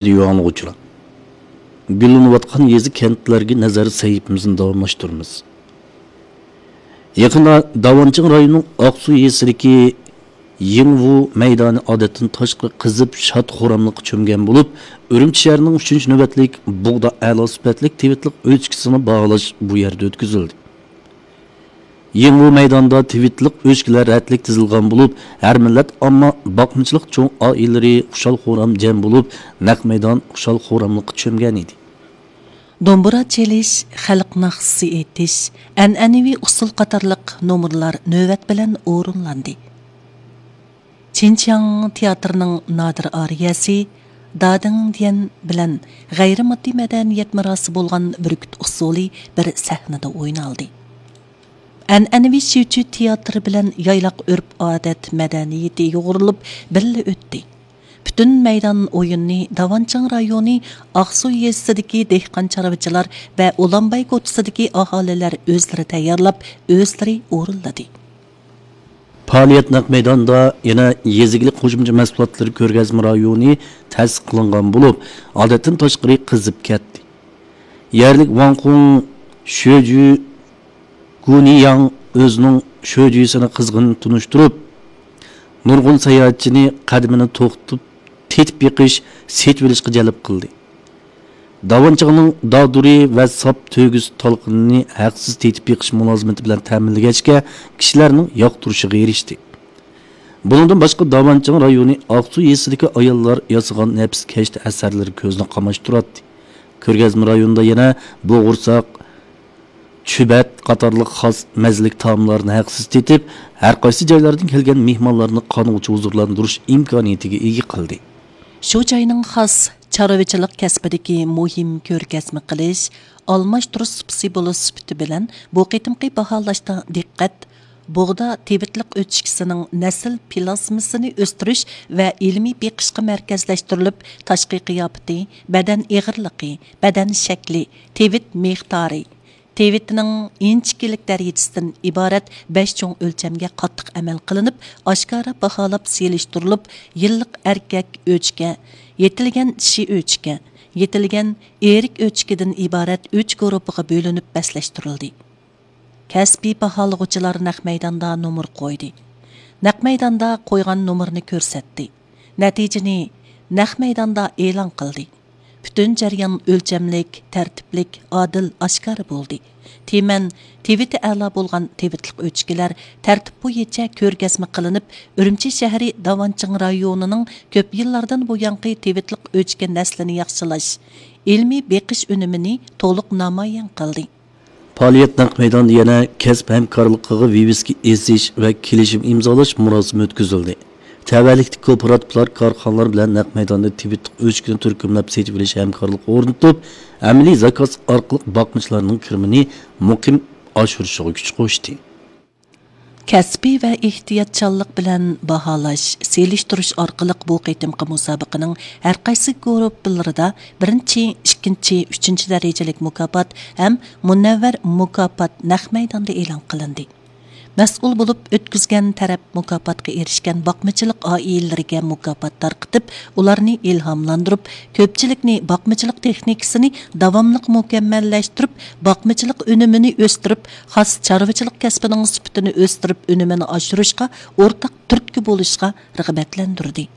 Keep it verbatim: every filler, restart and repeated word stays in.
رادىيو ئاڭلىغۇچىلار، گۈللىنىۋاتقان يېزا، كەنتلەرگە نەزەر سەھىپىمىزنى داۋاملاشتۇرىمىز. يېقىندا داۋانچىڭ رايونىنىڭ ئاقسۇ يېزىسىدىكى يىڭۋۇ مەيدانى ئادەتتىن تاشقىرى قىزىپ، شاد-خۇراملىققا چۆمگەن بولۇپ، ئۈرۈمچى شەھىرىنىڭ ئۈچىنچى نۆۋەتلىك بۇغدا ئەلا سۈپەتلىك تىۋىتلىق ئۆچكىسىنى باھالاش بۇ يەردە ئۆتكۈزۈلدى. يىڭۋۇ مەيدانىدا تىۋىتلىق ئۆچكىلەر رەتلىك تىزىلغان بولۇپ، ھەر مىللەت ئامما، باقمىچىلىق چوڭ ئائىلىلىرى خۇشال-خۇرام جەم بولۇپ، نەق مەيدان خۇشال-خۇراملىققا چۆمگەن ئىدى. دومبۇرا چېلىش، خەلق ناخشىسى ئېيتىش، ئەنئەنىۋى ئۇسسۇل قاتارلىق نومۇرلار نۆۋەت بىلەن ئورۇنلاندى. چىنچياڭ تىياتىرىنىڭ نادىر ئارىيەسى دادىڭ ديەن بىلەن غەيرىي ماددىي مەدەنىيەت مىراسى بولغان بۈركۈت ئۇسسۇلى بىر سەھنىدە ئوينالدى. ئەنئەنىۋى شىۋچۈ تىياتىرى بىلەن يايلاق ئۆرپ-ئادەت مەدەنىيىتى يۇغۇرۇلۇپ بىللە ئۆتتى. پۈتۈن مەيدان ئويۇننى داۋانچىڭ رايونى ئاقسۇ يېزىسىدىكى دېھقان-چارۋىچىلار ۋە ئۇلانباي كوچىسىدىكى ئاھالىلەر ئۆزلىرى تەييارلاپ، ئۆزلىرى ئورۇنلىدى. پائالىيەت نەق مەيداندا يەنە يېزا ئىگىلىك قوشۇمچە مەھسۇلاتلىرى كۆرگەزمە رايونى تەسىس قىلىنغان بولۇپ، ئادەتتىن تاشقىرى قىزىپ كەتتى. يەرلىك ۋاڭخۇڭ شۆجۈ گۇنىياڭ ئۆزىنىڭ شۆجۈسىنى قىزغىن تونۇشتۇرۇپ، نۇرغۇن ساياھەتچىنى قەدىمىنى توختىتىپ تېتىپ بېقىش، سېتىۋېلىشقا جەلپ قىلدى. داۋانچىڭنىڭ دادۇرى ۋە ساپ تۆگىسى تالقىنىنى ھەقسىز تېتىپ بېقىش مۇلازىمىتى بىلەن تەمىنلىگەچكە، كىشىلەرنىڭ ياقتۇرۇشىغا ئېرىشتى. بۇنىڭدىن باشقا، داۋانچىڭ رايونى ئاقسۇ يېزىسىدىكى ئاياللار ياسىغان نەپىسكەشتە ئەسەرلىرى كۆزنى قاماشتۇراتتى. كۆرگەزمە رايونىدا يەنە بوغۇرساق، چۈبەت قاتارلىق خاس مەززىلىك تائاملارنى ھەقسىز تېتىپ، ھەر قايسى جايلاردىن كەلگەن مېھمانلارنى قانغۇچە ھۇزۇرلاندۇرۇش ئىمكانىيىتىگە ئىگە قىلدى. شۇ جاينىڭ خاس چارۋىچىلىق كەسپىدىكى مۇھىم كۆرگەزمە قىلىش، ئالماشتۇرۇش سۇپىسى بولۇش سۈپىتى بىلەن بۇ قېتىمقى باھالاشتا دىققەت بۇغدا تىۋىتلىق ئۆچكىسىنىڭ نەسىل پىلاسمىسىنى ئۆستۈرۈش ۋە ئىلمىي بېقىشقا مەركەزلەشتۈرۈلۈپ، تاشقى قىياپىتى، بەدەن ئېغىرلىقى، بەدەن شەكلى، تىۋىت مىقدارى، تىۋىتنىڭ ئىنچىكىلىك دەرىجىسىدىن ئىبارەت بەش چوڭ ئۆلچەمگە قاتتىق ئەمەل قىلىنىپ، ئاشكارا باھالاپ سېلىشتۇرۇلۇپ، يىللىق ئەركەك ئۆچكە، يېتىلگەن چىشى ئۆچكە، يېتىلگەن ئېرىك ئۆچكىدىن ئىبارەت ئۈچ گۇرۇپپىغا بۆلۈنۈپ بەسلەشتۈرۈلدى. كەسپىي باھالىغۇچىلار نەق مەيداندا نومۇر قويدى. نەق مەيداندا قويغان نومۇرنى كۆرسەتتى. نەتىجىنى نەق مەيداندا ئېلان قىلدى. پۈتۈن جەريان ئۆلچەملىك، تەرتىپلىك، ئادىل، ئاشكارا بولدى. تىمەن تىۋىتى ئەلا بولغان تىۋىتلىق ئۆچكىلەر تەرتىپ بويىچە كۆرگەزمە قىلىنىپ، ئۈرۈمچى شەھىرى داۋانچىڭ رايونىنىڭ كۆپ يىللاردىن بۇيانقى تىۋىتلىق ئۆچكە نەسلىنى ياخشىلاش، ئىلمىي بېقىش ئۈنۈمىنى تولۇق نامايان قىلدى. پائالىيەت نەق مەيدانىدا يەنە كەسىپ ھەمكارلىقىغا ۋىۋىسكا ئېسىش ۋە كېلىشىم ئىمزالاش مۇراسىمى ئۆتكۈزۈلدى. تەۋەلىكتىكى كوپىراتىپلار، كارخانىلار بىلەن نەق مەيداندا تىۋىتلىق ئۆچكىنى تۈركۈملەپ سېتىۋېلىش ھەمكارلىقى ئورنىتىپ، ئەمەلىي زاكاز ئارقىلىق باقمىچىلارنىڭ كىرىمىنى مۇقىم ئاشۇرۇشىغا كۈچ قوشتى. كەسپىي ۋە ئېھتىياتچانلىق بىلەن باھالاش، سېلىشتۇرۇش ئارقىلىق بۇ قېتىمقى مۇسابىقىنىڭ ھەرقايسى گۇرۇپپىلىرىدا بىرىنچى، ئىككىنچى، ئۈچىنچى دەرىجىلىك مۇكاپات ھەم مۇنەۋۋەر مۇكاپات نەق مەيداندا ئېلان قىلىندى. مەسئۇل بولۇپ ئۆتكۈزگەن تەرەپ مۇكاپاتقا ئېرىشكەن باقمىچىلىق ئائىلىلىرىگە مۇكاپات تارقىتىپ، ئۇلارنى ئىلھاملاندۇرۇپ، كۆپچىلىكنى باقمىچىلىق تېخنىكىسىنى داۋاملىق مۇكەممەللەشتۈرۈپ، باقمىچىلىق ئۈنۈمىنى ئۆستۈرۈپ، خاس چارۋىچىلىق كەسپىنىڭ سۈپىتىنى ئۆستۈرۈپ، ئۈنۈمىنى ئاشۇرۇشقا ئورتاق تۈرتكە بولۇشقا رىغبەتلەندۈردى.